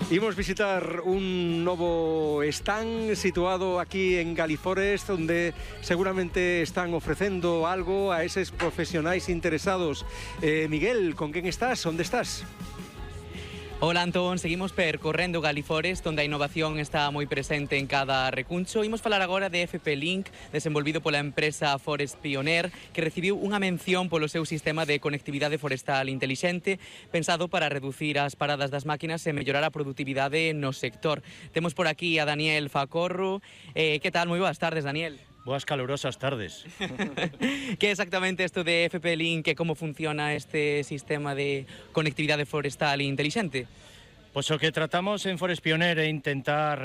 Imos visitar un novo stand situado aquí en Galiforest, onde seguramente están ofrecendo algo a eses profesionais interesados. Miguel, con quen estás? Onde estás? Hola Antón, seguimos percorrendo Galiforest, onde a innovación está moi presente en cada recuncho. Imos falar agora de FP Link, desenvolvido pola empresa Forest Pioneer, que recibiu unha mención polo seu sistema de conectividade forestal intelixente, pensado para reducir as paradas das máquinas e mellorar a produtividade no sector. Temos por aquí a Daniel Facorro. Que tal? Moi boas tardes, Daniel. Boas calurosas tardes. Que é exactamente isto de FP Link e como funciona este sistema de conectividade forestal intelixente? Pois o que tratamos en Forest Pioneer é intentar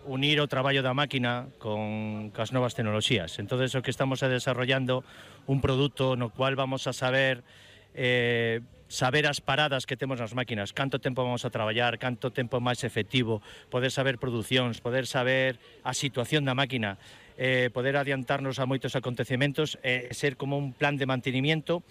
unir o traballo da máquina con as novas tecnoloxías. Entonces o que estamos desarrollando un produto no cual vamos a saber as paradas que temos nas máquinas, canto tempo vamos a traballar, canto tempo máis efectivo, poder saber producións, poder saber a situación da máquina, poder adiantarnos a moitos acontecementos, ser como un plan de mantenimiento,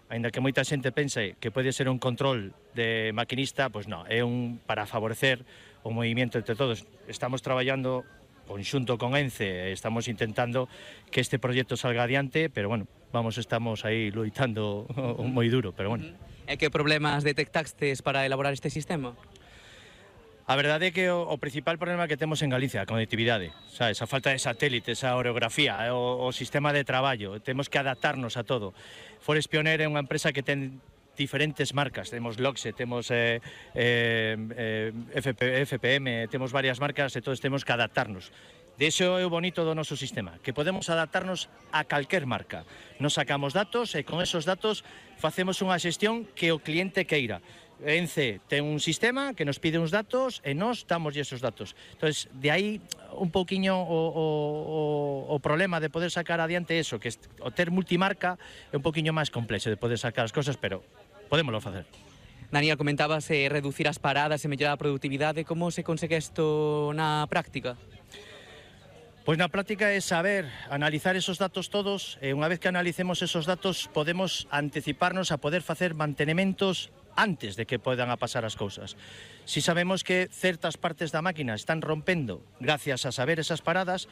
aínda que moita xente pense que pode ser un control de maquinista, pois non, é un para favorecer o movimento entre todos. Estamos traballando conxunto con ENCE, estamos intentando que este proxecto salga adiante, pero bueno, estamos aí loitando moi duro, pero bueno. E que problemas detectastes para elaborar este sistema? A verdade é que o principal problema que temos en Galicia, a conectividade, sabes, a falta de satélites, a orografía, o sistema de traballo, temos que adaptarnos a todo. Forest Pioneer é unha empresa que ten diferentes marcas, temos Loxe, temos FPM, temos varias marcas e todos temos que adaptarnos. De iso é o bonito do noso sistema, que podemos adaptarnos a calquer marca. Nos sacamos datos e con esos datos facemos unha xestión que o cliente queira. ENCE ten un sistema que nos pide uns datos e nós damos esos datos. Entonces, de aí un pouquiño o problema de poder sacar adiante eso, que o ter multimarca é un pouquiño máis complexo de poder sacar as cosas, pero podémoslo facer. Daniel, comentabas reducir as paradas e mellorar a produtividade. Como se consegue isto na práctica? Pois na práctica é saber analizar esos datos todos e unha vez que analicemos esos datos podemos anticiparnos a poder facer mantenementos antes de que podan a pasar as cousas. Si sabemos que certas partes da máquina están rompendo gracias a saber esas paradas,